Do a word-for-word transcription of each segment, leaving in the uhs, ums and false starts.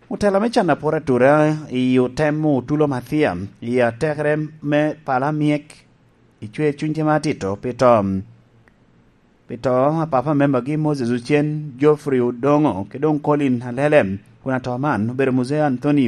Otela me can apor atura i otem otulo Mathiam i atekere me pala myek i cwer cuny tye ma atito pi to, pi to a papa membagi Moses Ocen, Geoffrey Odongo, ki doŋ Colin Alele, kun ato man obedo Muzee Anthony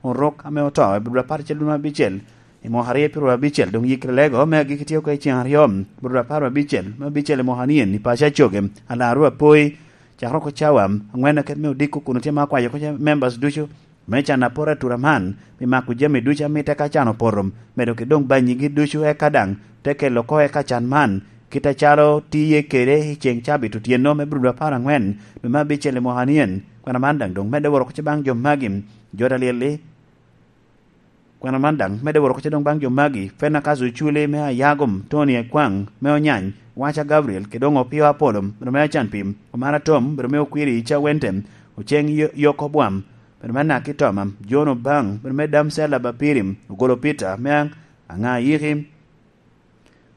Orok ame oto i Abdul Apar Cel dwe me abicel i mwaka aryo pyeraryo abicel, doŋ yikere lego me agikki tye oko i ceŋ aryo, Abdul Apar abicel me abicel i mwaka nien i paco Acoge, Alaro Apoi, cakere oko cawa aŋwen aket me odiko kun otye ma akwayo oko members ducu me can apor atura man, pi mako jami ducu a mitte ka can opoto, medo ki doŋ banyigi ducu, eka daŋ te kelo oko eka can man, kit acalo tiye kede i ceŋ cabit otyeno me Abdul Apar aŋwen, dwe me abicel i mwaka nien. Kwena man daŋ doŋ medde woro oko ce baŋ jo magi, jo ta lyel-li. Kwena man daŋ medde woro oko ce doŋ baŋ jo magi, Fenakas Oculi me Ayagom, Tony Ekwaŋ me Onyany, Waca Gabriel, ki doŋ Opio Apolo, bedo me Acan Pim, Omar Atom, bedo me Okwiri Ica Wente, Oceng Yo-, Yok Obwam, bedo me Anaki Toma, John Obaŋ, bedo me Damsel Abapiri, Ogolo Peter me Aŋ-, Aŋa Yiki,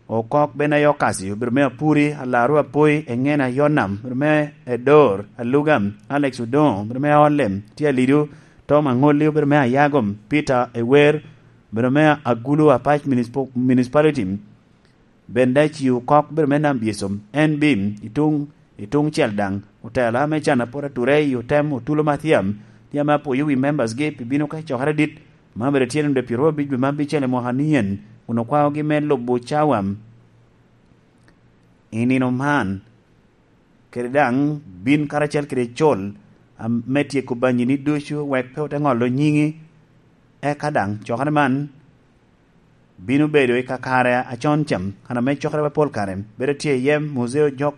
Okok Benayo Okasi, obedo me Apuri, Alaro Apoi, Eŋena Yonam, obedo me Edor, Aluga, Alex Odongo, obedo me Aolle, tye Alido, Tom Aŋolli, obedo me Ayagom, Peter Ewer, obedo me Agulu Apac Municipal-, Municipality, Bendaci Okok, obedo me Nam Byesom, N B, i tuŋ, i tuŋ cel daŋ, otela me can apot ature i otem otulo Mathiam, tye ame apwoyo wi members gi pi bino ka i cokere adit, ma obedo tyen onde pyeraryo abic dwe me abicel i mwaka nien, kun okwaogi me lubo cawa i nino man, kede daŋ bin karacel kede col, am-, me tyeko banyini ducu, wek pe ote ŋolo nyiŋi. Eka daŋ cokere man bino bedo i kakare acon cam, kan ame cokere pol kare bedo tye iye, Muzeo Jok,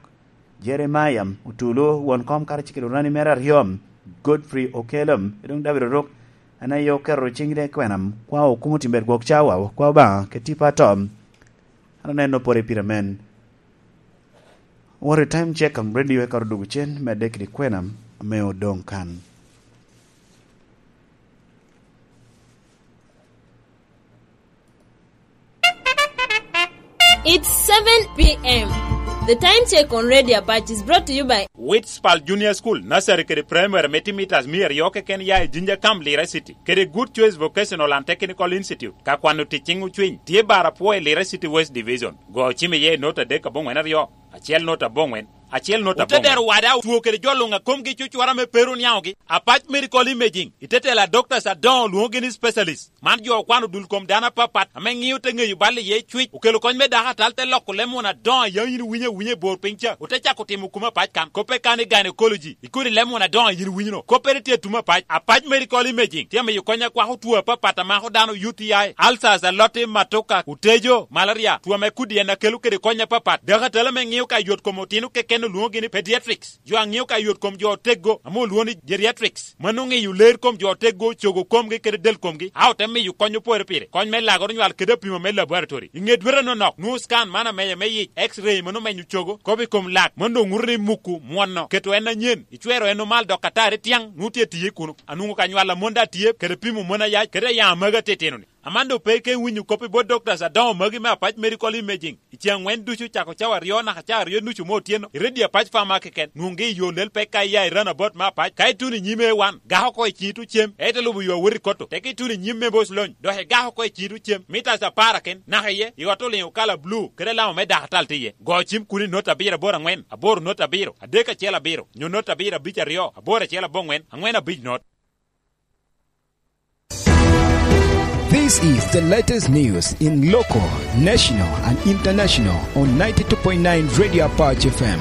Jeremiah Otulu, won kom karacel kede orani mere aryo, Godfrey Okello, ki doŋ David Orok, en aye oketo ciŋ i kwena, kwao okumo tim bed gwok cawa, kwao Obaŋa kede tipo ato. An aneno pwod i pire men. What a time check on radio eka odwogo cen, medde kede kwena ame odoŋ kan. It's seven p m. The time check on Radio Apache is brought to you by Witspal Junior School, Nursery kede Primary me timo mitas mia aryo keken ya i Jinja Camp, Lira City, kede Good Choice Vocational and Technical Institute, ka kwano tic ciŋ ocwiny, tye bar apwo i Lira City West Division. Go ocim iye i nota adek aboŋwen aryo, acel nota aboŋwen, acel nota aboŋwen. Ote dero wada otwo kede jo luŋ a komgi cucwara me pero niaŋogi. Apac Medical Imaging, i te tela doctors adoŋo lwoŋogi ni specialist. Man jo okwano dul kom dano apapat ame ŋio te ŋeyo bal iye cwic, okelo kony me dako atal, te loko leb muna adoŋo a yam yin iwinyo awinya i bor piny ca, ote cako timo kom apac kan. Koppe kan i gynecology, ikoni leb muna adoŋo a yin iwinyo-no. Koppere tye atum apac. Apac Medical Imaging tye amiyo kony akwako two apapat a mako dano, U T I, ulcers, aloti, matoka, otejo, malaria, two ame kudi en akelo kede kony apapat. Dako atal ame ŋio ka yot kom otino keken olwoŋogi ni pediatrics. Jo a ŋio ka yot kom jo oteggo ame olwoŋo ni geriatrics, mano ŋeyo ler kom jo oteggo, cogo komgi kede del komgi, a ote miyo kony opore pire, kony me lagoro nywal kede apimo me laboratory. I ŋe dwete anonok, nwoŋo scan man amenya me yic, X-ray mano menyo cogo, kop i kom lak, mano doŋ ŋuto ni muku mwono, keto en anyen, icwero en omal dok atari tiaŋ, nwoŋo tye tiye kuno. Anwoŋo ka nywal a mon daŋ tye, kede pimo mon ayac, kede ayaŋ amagi atitino-ni. Aman doŋ pe ike winyo kop i bot doctors adoŋo magi me Apac Medical Imaging. I ceŋ aŋwen ducu, cako cawa aryo naka cawa aryo nucu me otyeno, i redio Apac Pharmacy keken, nwoŋgi i yo lel pek ka iya i runabout me Apac. Ka ituno i nyim A one, gak oko i ciŋi tuŋ cem, ite lubo yo awot i Kotto. Tek ituno i nyim me Bos Lony, dok igak oko i ciŋi tuŋ cem, mitas apar aken, naka iye, i ot oliŋo kala bulu, kede alama me dakatal tye iye. Go cim kun i not abiro aboro aŋwen, aboro not abiro, adek acel abiro, nyo not abiro abic aryo, aboro acel aboŋwen, aŋwen abic not. This is the latest news in local, national, and international on ninety-two point nine Radio Apache F M.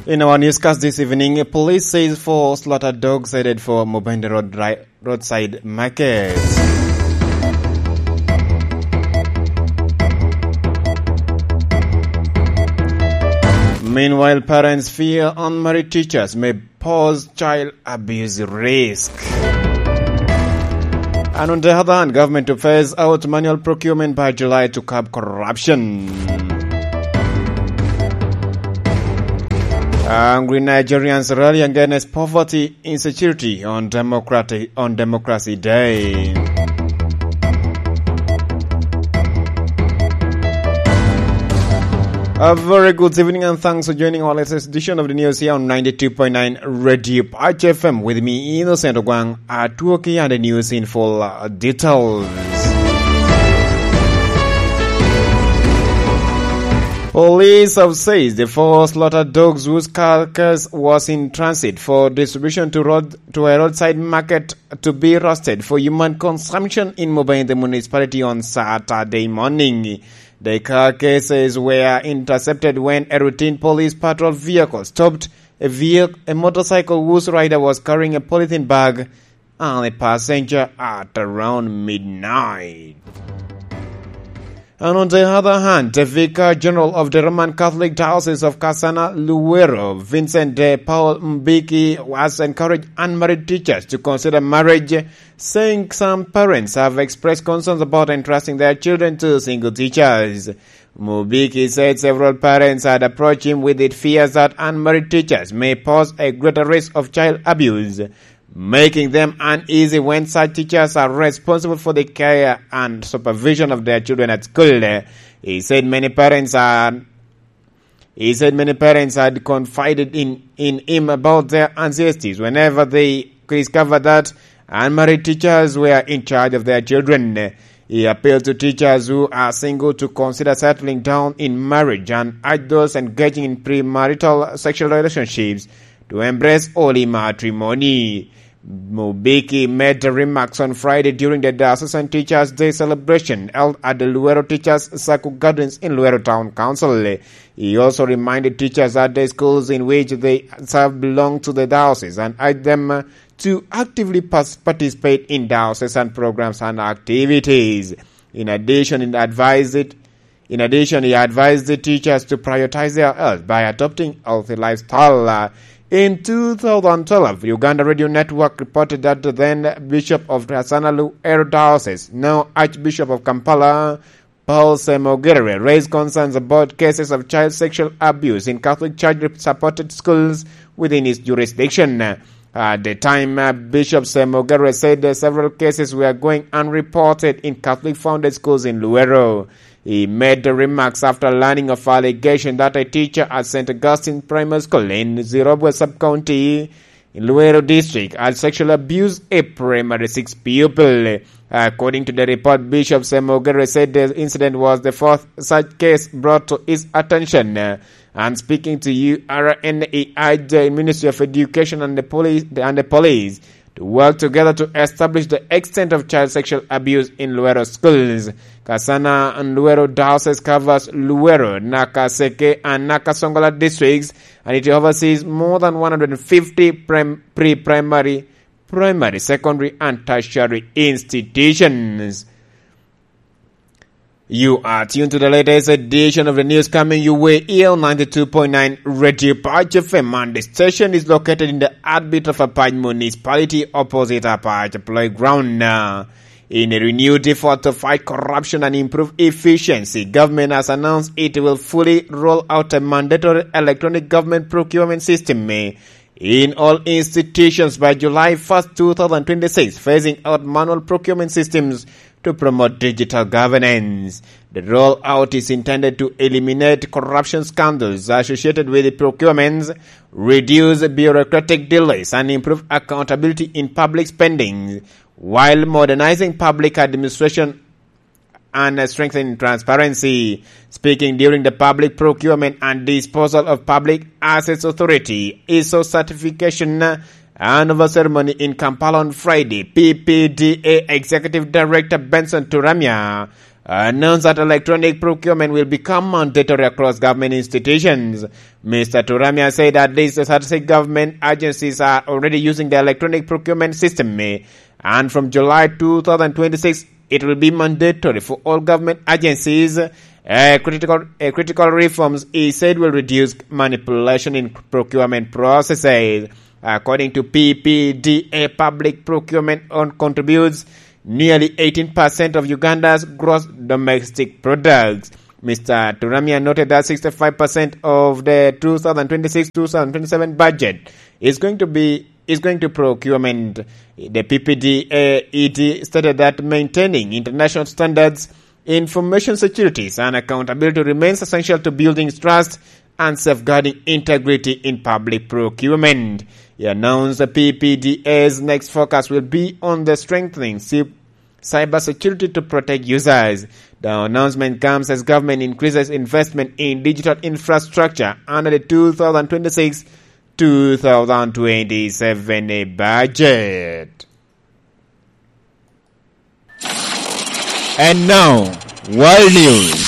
In our newscast this evening, police says four slaughter dogs headed for Mubende Road dri-, roadside market. Meanwhile, parents fear unmarried teachers may pose child abuse risk. And on the other hand, government to phase out manual procurement by July to curb corruption. Angry Nigerians rally against poverty insecurity on Democratic, on Democracy Day. A very good evening and thanks for joining our latest edition of the news here on ninety-two point nine Radio Patch F M. With me, Innocent Ogwang. Atwoki and the news in full uh, details. Police have said the four slaughter dogs whose carcass was in transit for distribution to road to a roadside market to be roasted for human consumption in Mubende municipality on Saturday morning. The carcasses were intercepted when a routine police patrol vehicle stopped a vehicle, a motorcycle whose rider was carrying a polythene bag and a passenger at around midnight. And on the other hand, the Vicar General of the Roman Catholic Diocese of Kasana Luwero, Vincent de Paul Mbiki, has encouraged unmarried teachers to consider marriage, saying some parents have expressed concerns about entrusting their children to single teachers. Mubiki said several parents had approached him with the fears that unmarried teachers may pose a greater risk of child abuse, making them uneasy when such teachers are responsible for the care and supervision of their children at school. He said many parents are he said many parents had confided in, in him about their anxieties whenever they discovered that unmarried teachers were in charge of their children. He appealed to teachers who are single to consider settling down in marriage and urged those engaging in premarital sexual relationships to embrace holy matrimony. Mubiki made the remarks on Friday during the Diocesan Teachers' Day celebration held at the Luero Teachers Circle Gardens in Luero Town Council. He also reminded teachers at the schools in which they serve belong to the diocese and urged them to actively pas- participate in diocesan programs and activities. In addition, he advised it in addition, he advised the teachers to prioritize their health by adopting healthy lifestyle. Uh, in two thousand twelve, Uganda Radio Network reported that the then Bishop of Kasana Luwero Diocese, now Archbishop of Kampala, Paul Semogere, raised concerns about cases of child sexual abuse in Catholic Church-supported schools within his jurisdiction. At the time, uh, Bishop Semogere said that several cases were going unreported in Catholic-founded schools in Luwero. He made the remarks after learning of allegation that a teacher at Saint Augustine Primary School in Zirobwe Sub-County in Luwero District had sexually abused a primary six pupil. According to the report, Bishop Semogere said the incident was the fourth such case brought to his attention. And speaking to U R N, he urged the Ministry of Education and the police, and the police to work together to establish the extent of child sexual abuse in Luwero schools. Kasana and Luwero Diocese covers Luwero, Nakaseke, and Nakasongola districts, and it oversees more than one hundred fifty prim- pre-primary, primary, secondary, and tertiary institutions. You are tuned to the latest edition of the news coming your way here on ninety-two point nine Radio Patch F M, and the station is located in the heartbeat of Apac Municipality, opposite Apac Playground. Uh, in a renewed effort to fight corruption and improve efficiency, government has announced it will fully roll out a mandatory electronic government procurement system, eh, in all institutions by July first, two thousand twenty-six, phasing out manual procurement systems to promote digital governance. The rollout is intended to eliminate corruption scandals associated with the procurements, reduce bureaucratic delays, and improve accountability in public spending, while modernizing public administration and, uh, strengthening transparency. Speaking during the Public Procurement and Disposal of Public Assets Authority, I S O certification, uh, annual ceremony in Kampala on Friday, P P D A Executive Director Benson Turamya announced that electronic procurement will become mandatory across government institutions. Mister Turamya said at least thirty-six government agencies are already using the electronic procurement system, eh, and from July two thousand twenty-six, it will be mandatory for all government agencies. A critical, a critical reforms, he said, will reduce manipulation in procurement processes. According to P P D A, public procurement on contributes nearly eighteen percent of Uganda's gross domestic products. Mister Turamya noted that sixty-five percent of the two thousand twenty-six two thousand twenty-seven budget is going to be is going to procurement. The P P D A E D stated that maintaining international standards Information security and accountability remains essential to building trust and safeguarding integrity in public procurement. He announced the P P D A's next focus will be on the strengthening cy- cybersecurity to protect users. The announcement comes as government increases investment in digital infrastructure under the two thousand twenty-six two thousand twenty-seven budget. And now, world news.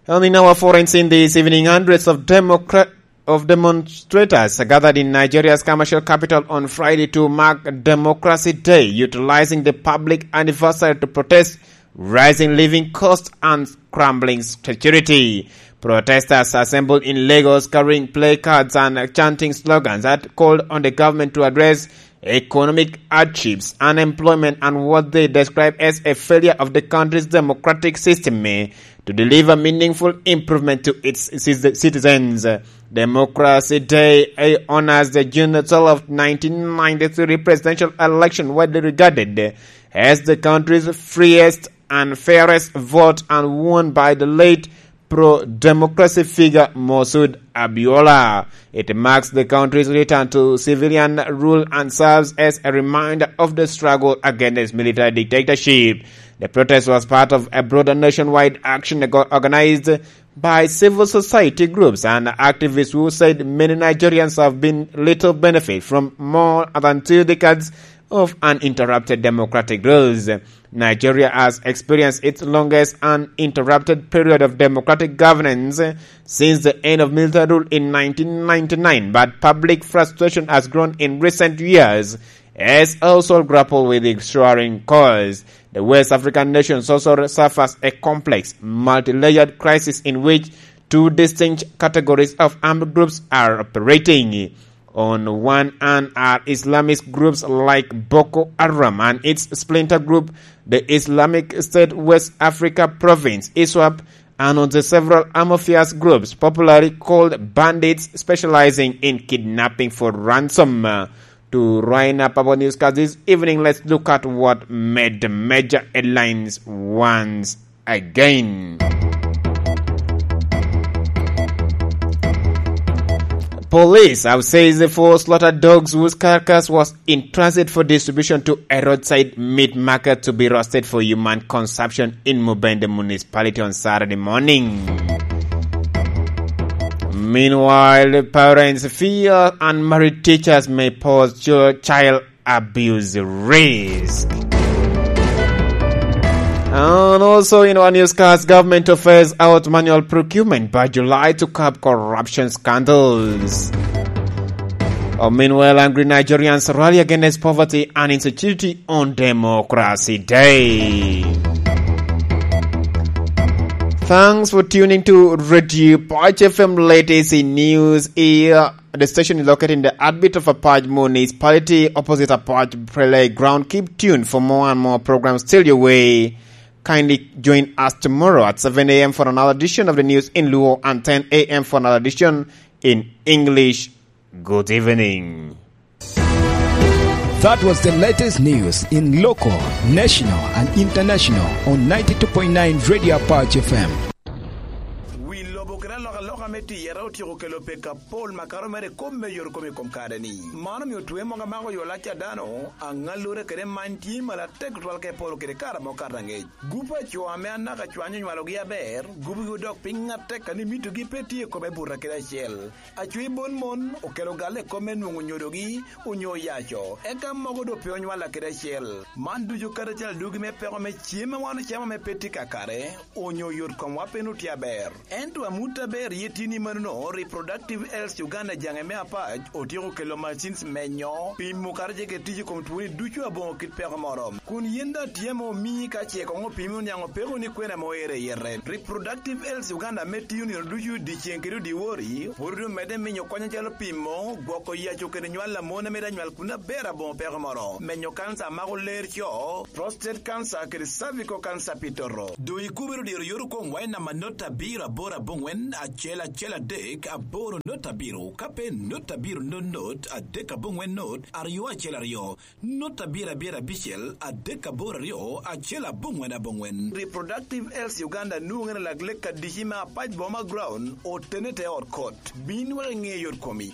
And in our foreign scene this evening, hundreds of Democrat of demonstrators gathered in Nigeria's commercial capital on Friday to mark Democracy Day, utilizing the public anniversary to protest rising living costs and crumbling security. Protesters assembled in Lagos carrying placards and chanting slogans that called on the government to address economic hardships, unemployment, and what they describe as a failure of the country's democratic system, eh, to deliver meaningful improvement to its ci- citizens. Democracy Day, eh, honors the June twelfth, nineteen ninety-three presidential election, widely regarded as the country's freest and fairest vote, and won by the late pro-democracy figure Moshood Abiola. It marks the country's return to civilian rule and serves as a reminder of the struggle against military dictatorship. The protest was part of a broader nationwide action ago- organized by civil society groups and activists who said many Nigerians have been little benefit from more than two decades of uninterrupted democratic rules. Nigeria has experienced its longest uninterrupted period of democratic governance since the end of military rule in nineteen ninety-nine, but public frustration has grown in recent years as households grapple with its soaring costs. The West African nations also suffers a complex, multi-layered crisis in which two distinct categories of armed groups are operating. On one hand are Islamist groups like Boko Haram and its splinter group, the Islamic State West Africa Province, iswap, and on the several mafious groups popularly called bandits specializing in kidnapping for ransom. To round up our newscast this evening, let's look at what made the major headlines once again. Police have said the four slaughtered dogs whose carcass was in transit for distribution to a roadside meat market to be roasted for human consumption in Mubende Municipality on Saturday morning. Meanwhile, parents fear unmarried teachers may pose child abuse risk. And also in our newscast, government to phase out manual procurement by July to curb corruption scandals. Oh, meanwhile, angry Nigerians rally against poverty and insecurity on Democracy Day. Thanks for tuning to Radio Patch F M latest in news here. The station is located in the heartbeat of Apac Municipality, opposite Apac Prele Ground. Keep tuned for more and more programs. Still your way. Kindly join us tomorrow at seven a m for another edition of the news in Luo and ten a m for another edition in English. Good evening. That was the latest news in local, national, and international on ninety-two point nine Radio Apache F M. Wi lobo kede alokaloka me tiyere otyeko kelo pek apol makato mere i kop me yot kom i kom kare-ni. Man omio twe mogo amako yo lac a dano, aŋallure kede many tye malo atek tutwal ka i polo kede kare mokato aŋec. Gup a co ame anaka cwany onywalogi aber, gubogi odok piny atek, kadi mitogi pe tye i kome buto kede acel. Acwi bot mon okelo galle i kop me nwoŋo nyodogi onyo oyaco, eka mogo doŋ pe onywalla kede acel. Man ducu kadi acel adugi me peko me cem ma wan ocamo ame pe tye kakare, onyo yot komwa pe nwoŋo tye aber. Ento amut aber ye tye ni manono, Reproductive Health Uganda jaŋe me Apac otyeko kelo machines menyo, pimo kadi ce kede tic i kom twoni ducu aboŋo kit peko moro. Kun yen daŋ tye ame omii ka ce koŋ opimi oniaŋ opeko ni kwena ame oero i yete. Reproductive Health Uganda ame tiyo nino ducu dyeceŋ kede dyewor-ri, pwod omedde miyo kony acalo pimo, gwoko yaco kede nywal a mon ame daŋ nywal kun aber aboŋo peko moro, menyo kanca a mako ler co, prostate cancer kede cervical cancer pi toto. Doŋ ikubere odiro yot okoŋ wai namba not abiro aboro aboŋwen, acel acel adek aboro not abiro, ka pe not abiro not not adek aboŋwen not aryo acel aryo, not abiro abiro abicel adek aboro aryo acel aboŋwen aboŋwen. Reproductive Health Uganda nwoŋere lak lek adici me apac boma ground otene te ot kot. Bin wek iŋe yot komi.